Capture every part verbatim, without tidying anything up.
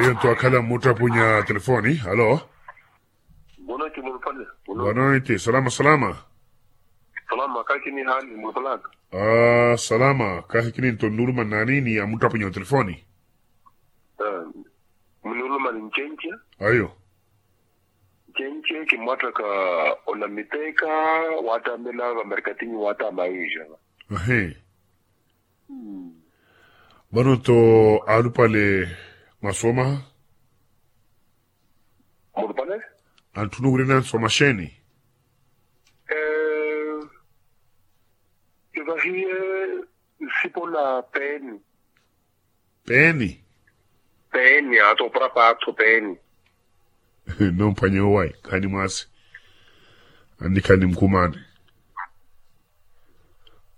Iyo nto akhala mmuttapunya telefoni. Alo. Bonoiti mulupale. Bonoiti salama salama. Salama kahi kini hali mulupalaka. Salama kahi kini nto nnuluma nnani ni amuttapunya otelefoni. Muniuluma ni ncenci. Ayo. Ncenci kimwatthaka onamiteka watamela vamerikatinyi wata maija. Ahi. Vano nto alupale mwasoma. Mulupale. Antthunu wira nansoma xeeni? Kivahiye nsipola peeni. Peeni. Peeni ato opura paatho peeni. Nomphwanya owayi khani mwaasi. Annikhani mukhumaani.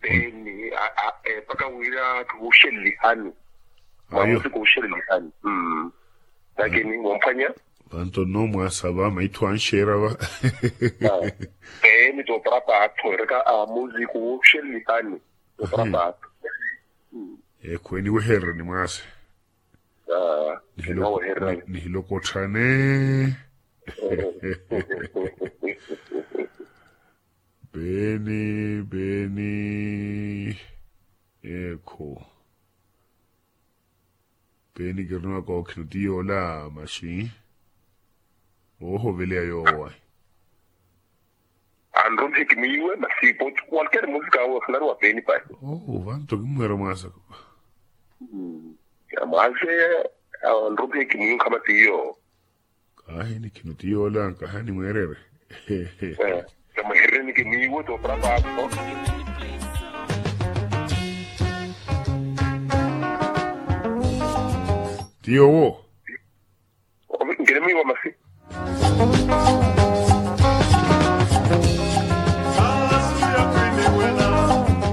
Peeni mpakha wira kihuxelelihani. Ayo. Mwamusi kuxelelihani. Lakini womphwanya. Vanto nno mwaasa va maitho anxeera va. Peeni toopara paatho ereka amuzi kuxelelihani. Toopara paatho. Ekhu eniwehererani mwaase. Nihilokotthane. Peeni peeni. Ekhu. Peeni kirinowa kookhino ti yoola maxi. Oohoveleya yoowo ahi. Anrumihe kimwiiwe masi poti walkeri musika awe khularuwa peeni pahi. Oo vanto kimmweera mwaasa. Mwaase. Anrumihe kimwiiwe nkhama ti yoowo. Kaahini khino ti yoola nkahi animweererye. Kamwehererye ni kimiiwo toopara paatho. Ti yoowo. Nkirimiiwa masi.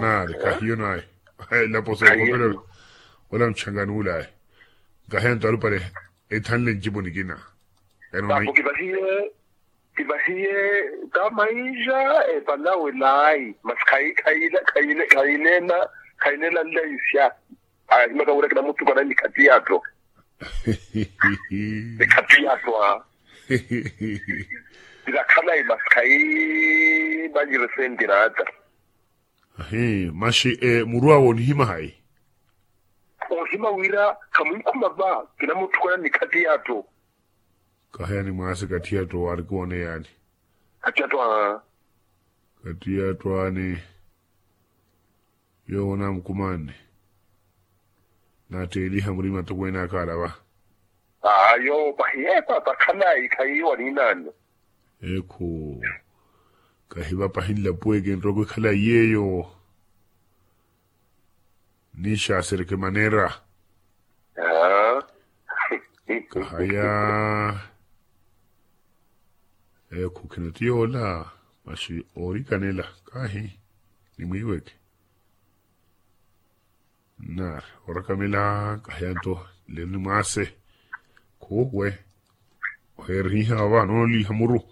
Naari kahiyo naye. Elapo sookopela. Ola muchangani ulaye. Nkahi anto alupale. Ethanle ncipo nikina. Eno. Kivahiye. Kivahiye tamaija epalawe laayi masi khayi khayi khayi khayi neela nlaisya. Ahimaka wira kinamutukana ni khati yaatto. Ni khati yaatto a. Kira khalayi masi khayi manjire sentiraata. Ahi maxi muru awe onihima hayi? Ohima wira khamunkhuma va kinamutukana ni khati yaatto. Kahi yaani mwaasi kathi yaatto waari kuwone yaani. Kathi yaatto aani. Kathi yaatto aani. Yoowo namukumanne. Naatteeliha murima tokweene akhala va. Aa yoowo pahi epa pakhalayi khayi waniinanno. Ekhu. Kahi va pahi nlapuweke nrooko ekhala iyeeyo. Niixaasereke maneera. Kahaya. Ekhu khino ti yoola. Maxi oorikanela kahi. Nimwiiweke. Naari orakamela. Kahaya nto lelo ni mwaase. Khuuwe. Oheerihiha va nooliiha muru.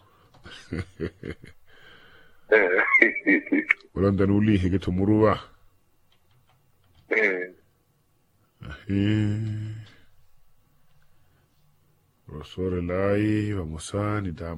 Wala ntanuuliiheke-tho muru va. Ahi. Rosoorelayi vamosa ni taa.